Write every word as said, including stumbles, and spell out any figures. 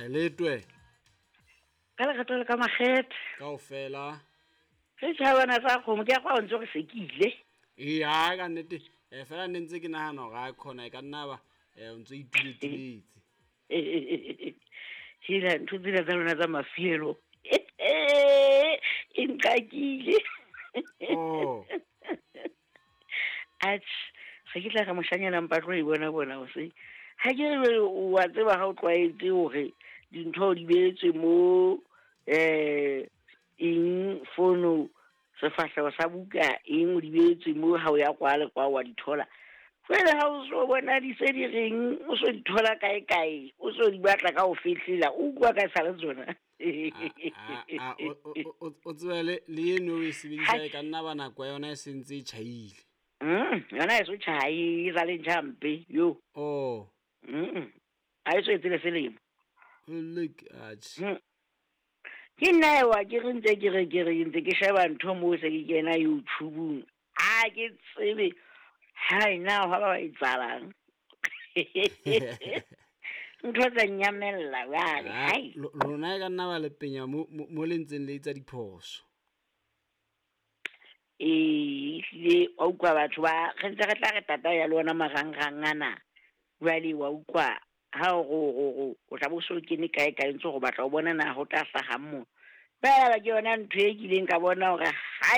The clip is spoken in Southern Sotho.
Letwe. Ka lerato le ka makgethe. Kaofela. Re tjhabana tsa kgomo ke a kwa o ntse re sekile. Ee, ha ka nnete. Eh fela ne ntse ke nahana hore a khona e ka nna ba eh o ntso ituletuletse. Hela ntho tsena tsa lona tsa mafielo. E nqakile. Oh. Atjhe, se ke tla re moshanyana mpa tlo e bona bona hoseng. Ha ke re wa tseba ha o tlwaetse hore dintho di beetswe mo eh eng fono sefahleho sa buka eng o di beetswe mo ha o ya kwa le kwa wa di thola. Jwale ha o so bona di se di reng o so di thola kae kae o so di batla ka ho fihlela o utlwa ka sa le tsona. A o o tsebe le le eno o e sebedisa e ka nna ba nako ya yona e sentse e tjhaile. Mm, yona e so tjhai e sa le ntjhampe yo. Oh. Mm. Ha e so etse le selemo. Look atjhe. Mm. Ke nna ewa ke re ntse ke re ke re ntse ke sheba ntho moo se ke kena YouTube-ung. Ha ke tsebe hai na ha ba etsalang. Ntho tsa nyamella jwale, hai. Lona e ka nna ba le penya mo mo le ntseng le etsa diphoso. Ee, ehlile wa utlwa batho ba re ntse re tla re tata ya le ona marangrang ana. Jwale wa utlwa ha o ro ro ro o tla bo so kene kae kae ntse go batla o bona na ho tla hlahang mo. Ba ke yona ntho e kileng ka bona hore hai.